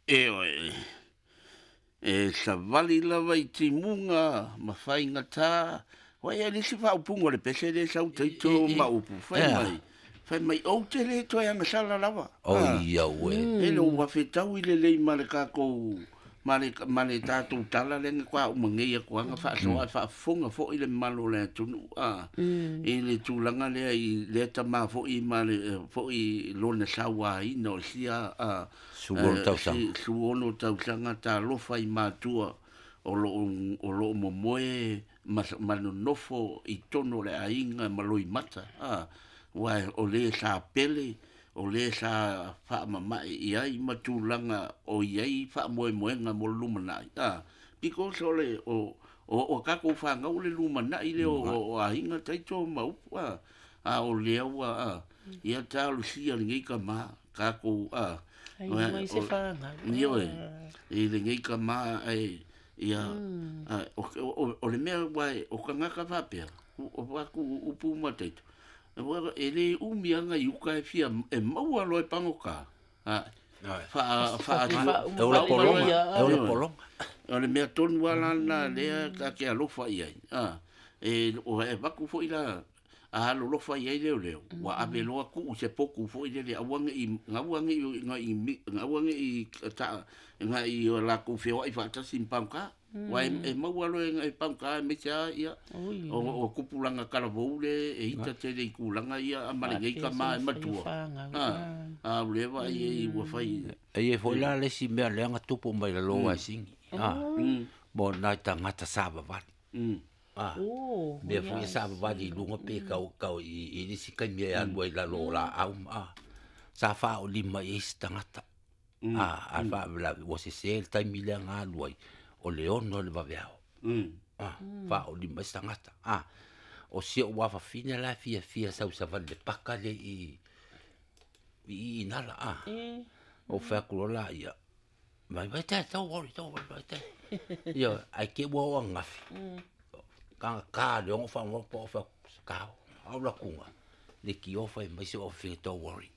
Ioe, e savali lava i timuga ma faigata. Ua i ai le isi faaupuga o le pese lea e sau taito ma upu, fai mai, fai mai, ou te le toe agasala lava. Oi au e. E le ua fetaui lelei ma le tatou ma le tatou tala lea na faatoa uma nei atu lava na faasoa ae faafofoga foi le mamalu o le atunuu i le tulaga lea i lea tama foi ma le foi lona sauaina o sia 16 tausaga. 16 tausaga. Talofa i matua o lo o momoe ma nonofo i totonu o le aiga ma loimata, aua o le sa pele, o le sa faamamae i ai ma tulaga o i ai faamoemoega mo le lumanai, because o le o tatou fanau o le lumanai lea o aiga taito ma upu, a o lea ua ia talosia lenei tama tatou Ai mai se fanau. Ioe, i lenei tama ae ia o le mea ua o tagata faapea o atu upu ma taito e le umi aga i uka e fia e maua loa e pagota. E ola polonga, e ola polonga. O le mea tonu lava lena lea ta te alofa i ai. E avatu foi la a alolofa i ai leoleo, ua ave loa tuu se potu foi lele aua ne i agai o latou feoai faatasi ma pagota. Aua e maua loa e pagota aemaise lava ia o tupulaga talavou le e ita tele i tulaga ia ma lenei tama e matua. A o lea vaai ai ua fai. E i ai foi la le isi mea lea na tupu mai lalo o Sini. Mo nai tagata savavali. Mea foi e savavali i luga pe kau i nisi taimi e alu ai i lalo o laau ma sa faaolima i ai se tagata. A faalavelave ua sese le taimi lea na alu ai o le 6 o le vaveao. Faaolima ai se tagata. O si ou afafine la e fiafia sau savali le paka le i Inala. O fai atu loa la ia, mai vai te, don't worry, don't worry, vai te. Ia, ai ke ua o angafi. Kanga ka le ongo whango po o wha kao. Au la kunga. Le ki o whai mai se o whinga, don't worry.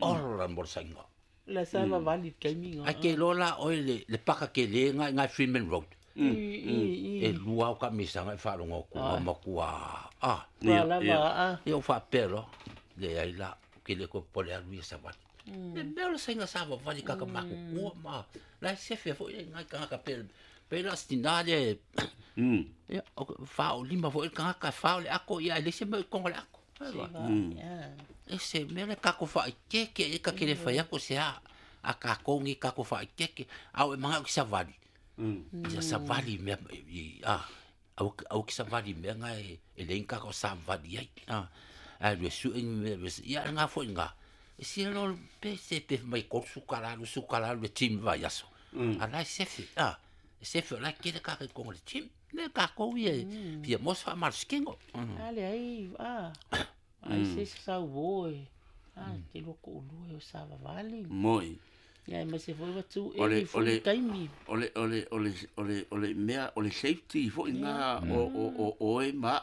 Ora mo sainga. La sa vali taimi nga. Ai ke lola oi le paka ke le ngai ngai Freeman Road. E lua o ka misanga e whalongo ku makua. La ia o whapelo. Le ai la ke le ko pole alu ia savali. Le mea o le sainga sa vali kaka maku kua ma. La se fe foi ngai kanga pe pe la stina le. Ia o fa o lima foi kanga fa o le ako ia le se me kongo le ako. E se mea le kako whaikeke e ka kere whai ako se a ka kongi kako whaikeke au e manga o ki savali. Ia savali mea au ki savali mea nga e lein kako savali ai. A le su e ia nga foi nga. E si lo pe se pe mai ko sukala sukala le tim vai aso. A lai se fe se fe la kere ka kongo le tim. Le ka ko ia fia mos fa mal skingo. Ale ai ai se sau voi. Te loko ulua o savavali. Moi. Ia ma se foi watu e foi taimi. O le mea o le safety foi nga o e ma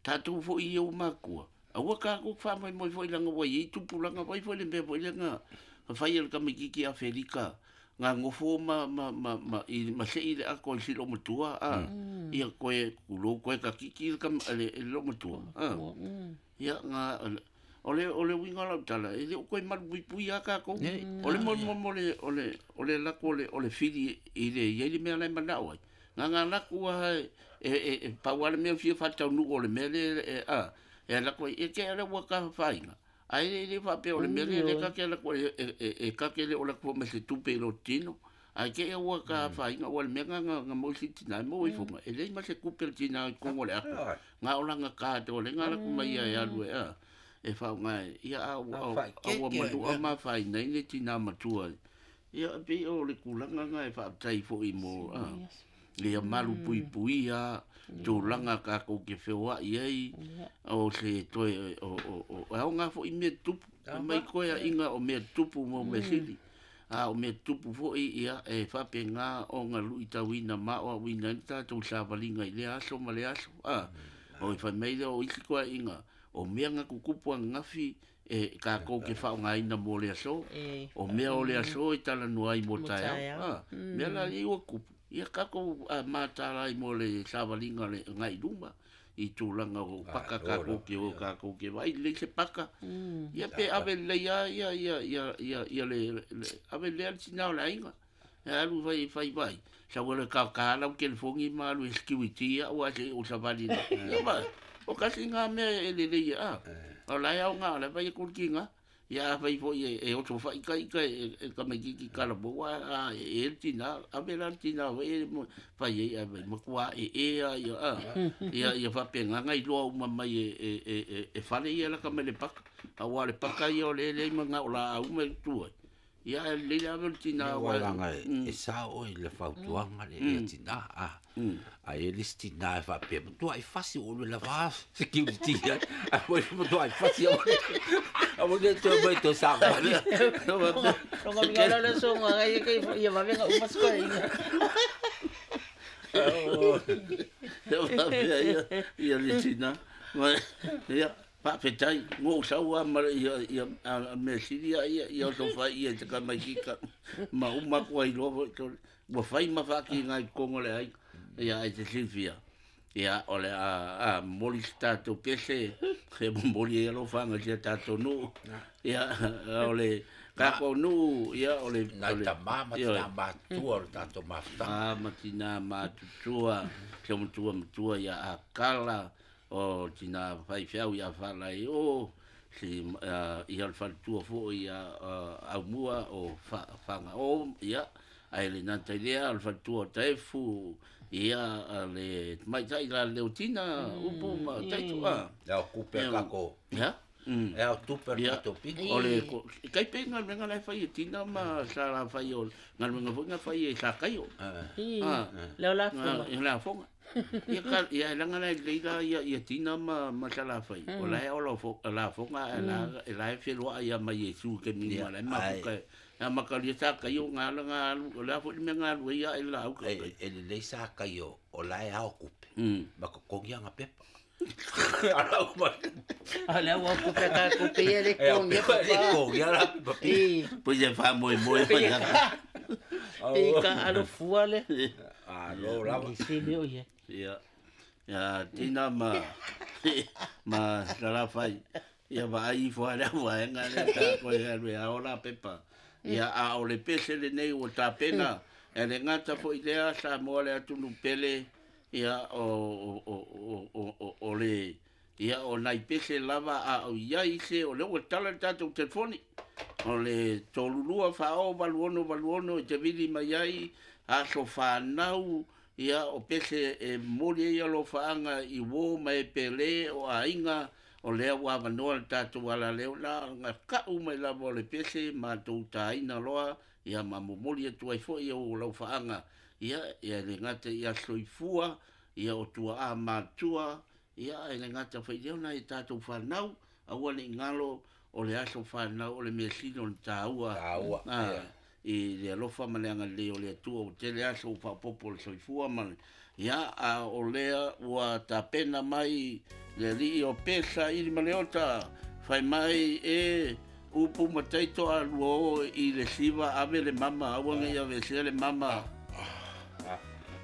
tatou foi i o makua. Aua ka ko fa mai moi foi langa wai i tupulanga vai foi le mea foi langa fai el kamikiki Aferika nga ngofo ma i ma se i le ako i silo matua ia koe kulo koe ka kiki kam le lo matua ia nga o le winga la tala e le koe malu pui a ka ko o le mo mo le o le la ko le o le fili i le ia le mea le manao ai nga nga la ku e pa wale mea fia fatau nu o le mea le e la ko e ke ala wa ka fainga ai le fa pe o le mea le ka ke la ko e ka ke le o la ko me se tupe lo tino ai ke wa ka fainga o le mea nga nga mo si tina mo i fonga e le ma se kupe tina ko le ako nga o la nga ka to le nga la ku mai ia alu e fa nga ia au ma ma fai nei le tina matua ia pe o le kulanga nga e fa tai fo i mo ia malu pui pui ia tulaga ka ko ke feoa i ai o se toe o au nga fo i me tupu mai koe inga o me tupu mo me sili a o me tupu fo i ia e fa pe nga o nga lui tauina ma o wina ta tu savalinga i le aso ma le aso o i fa mai o isi koe inga o mea nga kukupu ngafi e kākou ke faaaogaina mo le aso. O mea o le aso e talanoa ai mo taeao. Mea la lea ua tupu, ia kākou matala ai mo le savaliga o le agai i luma i tulaga o paka kākou ke o kākou ke vaai lelei se paka. Ia pe ave lelei lava ia ia ia ia ia le ave lelei lava le tina o le aiga. E alu fai fai vai. Sau e ka ka lau telefoni ma alu e security ia ua se o savali. Ia ba. O kasi ngā mea e lelei a. O la e au ngā la vai e kulki ngā. Ia a fai foi e oso fai kai kai e tamaititi tala mo a e le tina ave la le tina foi e fai ai ave matua e e a ia a ia ia faapena iloa uma mai e fale ia laka mai le paka auā le paka ia o le leai ma o laau ma e tu ai ia e lelei le ave o le tina Ua laga e sao oe i le fautuaga le ia tinā a a e le isi tinā e faapea matuai fasi o le lava security ai a foi matuai fasi au au le toe mai toe savali. Longa minga le songa ai ke ia vavenga uma skoinga. Faapea ia ia le tina ma ia faafetai go sau a ma ia ia a mea sili ia ia ia oso fai ia te tamaititi ma uma atu ai loa foi ua fai ma faakiga i totonu o le aiga ia ai te silafia ia o le a momoli se tatou pese e momoli ai alofaga i sia tatou nuu ia o le tatou nuu ia o le Nai tamā ma tinā matutua o le tatou mafutaga. A ma tinā matutua se matua matua ia Akala o tina faifeau ia Faalai o si ia le faletua foi ia Aumua o Fagao ia ae le gata i lea o le faletua o Taefu ia le tamaitai la Leotina upu ma Taito a E ao tupe a tatou ia e ao tupe a le tatou pito. O le kai pe galuega la e fai e Tina ma sa la fai o galuega foi na fai e Sakaio. I le o lafoga. E lafoga. Ia ka ia e laga la e lelei la ia ia Tina ma sa la fai. O la e o lafoga e la e la e feloai ia ma Iesu ke mi ma la e mafuka. A makalia Sakaio ngā la ngā alu o le a foi le mea ngā alu ai ia e la au ka. E lelei sa kai o la e ao kupe ma totogi aga pepa. Ala uma. A le ua kupe ka kupe ia le E ao kongi pepa le papa. kongi ala pepa pi. I Pois e faamoemoe mai pe ka pe ka alofua le. A lo lava. I se mea o ia. Ia ia Tina ma ma Salafai ia vaai ifo a le vaega lea tatou e alu e ao la pepa. Ia a o le pese lenei ua tapena e le gata foi lea Samoa le atunuu pele ia o o o o o o le ia o nai pese lava a o iai se o lea ua tala le tatou telefoni o le 32 40 86 86 e te vili mai ai aso fanau ia o pese e momoli ai alofaaga i uō ma e pele o aiga o lea ua avanoa le tatou alaleo la na ka'u mai lava o le pese matou tāina loa ia ma momoli atu ai foi ou laufaaga ia ia le gata ia soifua ia o tuaā matua ia e le gata foi lea ona e tatou fanau aua ne'i galo o le aso fanau o le measili o le tāua Taua. a i le alofa ma le agalelei o le Atua ua tele aso ua faaopoopo o le soifua ma le ia a o lea ua tapena mai le alii o Pesa ili ma Leota fai mai e upu ma taito a lua o i le siva ave le mama aua nei avesea le mama.